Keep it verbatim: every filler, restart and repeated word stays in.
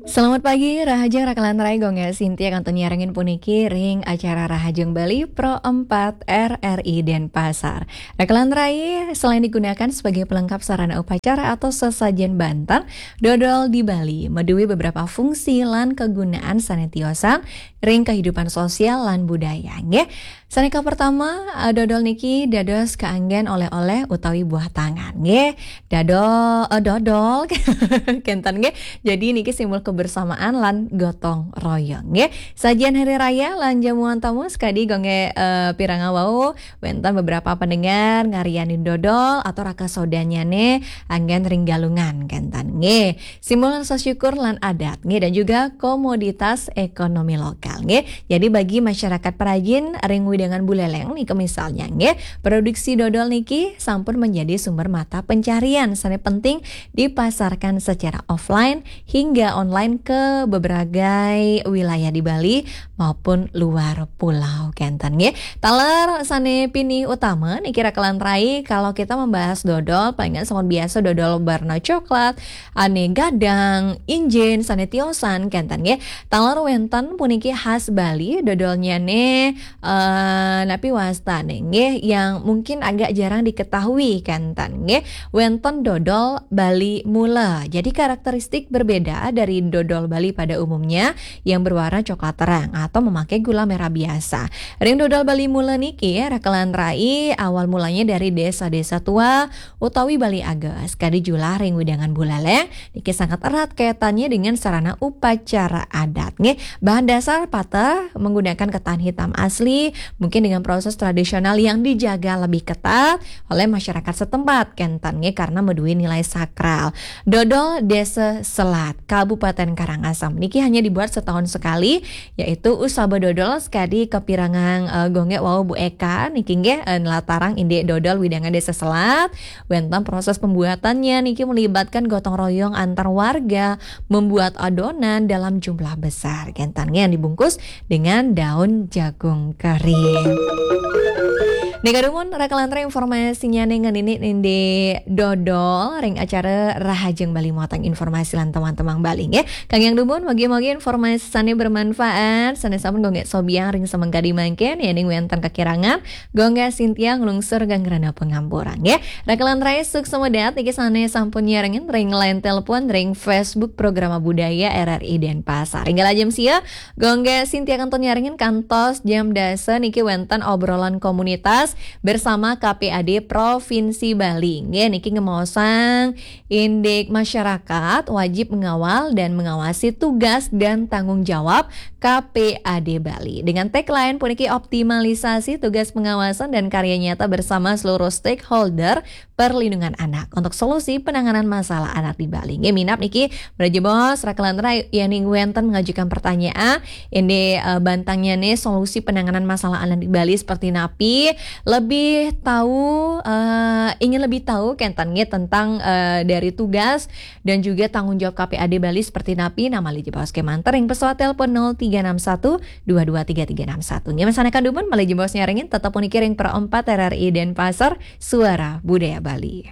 Selamat pagi, Rahajeng Rakalan Rai, Gung Gas Sintia kantun nyarengin puniki ring acara Rahajeng Bali Pro empat R R I Denpasar. Rakalan Rai selain digunakan sebagai pelengkap sarana upacara atau sesajen banten, dodol di Bali madué beberapa fungsi lan kegunaan sané tiosan ring kehidupan sosial lan budaya, nggih. Sané kapertama, eh, dodol niki dados kaanggén oleh-oleh utawi buah tangan, nggih. Dado-, eh, dodol, kénten, nggih. Jadi niki simbol kebersamaan lan gotong royong, nggih. Sajian hari raya lan jamuan tamu sakadi Gung Gas, eh, pirengang wau, wénten beberapa pendengar ngarianin dodol atau raka sodannyané anggén ring Galungan, kénten, nggih. Simbol rasa syukur lan adat, nggih, dan juga komoditas ekonomi lokal, nggih. Jadi bagi masyarakat perajin ring wewidangan Buléléng niki misalnya, nggih, produksi dodol niki sampun menjadi sumber mata pencarian sané penting dipasarkan secara offline hingga online ke beberapa wilayah di Bali maupun luar pulau, kénten, nggih. Taler sané pinih utama niki Rakalan Rai, kalau kita membahas dodol, palingan sampun biasa dodol warna coklat, ané gadang, injin, sané tiosan, kénten, nggih. Taler wénten puniki khas Bali, dodolnyané, eh, napi wastané, nggih, yang mungkin agak jarang diketahui, kénten, nggih. Wénten dodol Bali Mula. Jadi karakteristik berbeda dari dodol Bali pada umumnya yang berwarna coklat terang atau memakai gula merah biasa. Ring dodol Bali Mula niki, Rakalan Rai, awal mulanya dari desa-desa tua utawi Bali Ages, kadi julah ring wewidangan Buléléng, niki sangat erat kaitannya dengan sarana upacara adat, nggih. Bahan dasar pateh menggunakan ketan hitam asli, mungkin dengan proses tradisional yang dijaga lebih ketat oleh masyarakat setempat, kénten, nggih, karena madué nilai sakral. Dodol Desa Selat, Kabupaten Karangasem, niki hanya dibuat setahun sekali, yaitu usaba dodol sakadi kapirengang, eh, Gung Gas wau, Bu Eka, niki, nggih, eh, nlatarang indik dodol wewidangan Desa Selat. Wénten proses pembuatannya niki melibatkan gotong royong antar warga, membuat adonan dalam jumlah besar, kénten, nggih, yang dibungkus dengan daun jagung kering. Nika dumun, Rakalan Rai, informasinyané ngenénin indik dodol ring acara Rahajeng Bali, muatan informasi lan tembang-tembang Bali, nggih. Kangge dumun, mugi-mugi informasi sané bermanfaat, sané sampun Gung Gas sobiahang ring semeng kadi mangkin, yéning wénten kakirangan, Gung Gas Sintia nglungsur gangrenan pangampura, nggih. Rakalan Rai, suksma dahat niki sané sampun nyarengin ring line telepon, ring Facebook Programa Budaya R R I Denpasar. Ring ajem sia, Gung Gas Sintia kantun nyarengin kantos jam dasa niki wénten obrolan komunitas bersama K P A D Provinsi Bali. Nggih, niki ngemaosang indik masyarakat wajib mengawal dan mengawasi tugas dan tanggung jawab K P A D Bali. Dengan tagline puniki, optimalisasi tugas pengawasan dan karya nyata bersama seluruh stakeholder perlindungan anak untuk solusi penanganan masalah anak di Bali. Nggih, minab niki, malih jebos, Rakalan Rai, yéning wénten mengajukan pertanyaan, indik, eh, bantangnyané solusi penanganan masalah anak di Bali seperti napi, lebih tahu, eh, ingin lebih tahu, kénten, nggih, tentang, eh, dari tugas dan juga tanggung jawab K P A D Bali seperti napi, nah, malih jebos kémanten ring pesawat telepon nol tiga enam satu dua dua tiga tiga enam satu. Nggih, masané kantun dumun, malih jebos nyarengin, tetep puniki ring Pro empat R R I Denpasar, Suara Budaya Bali.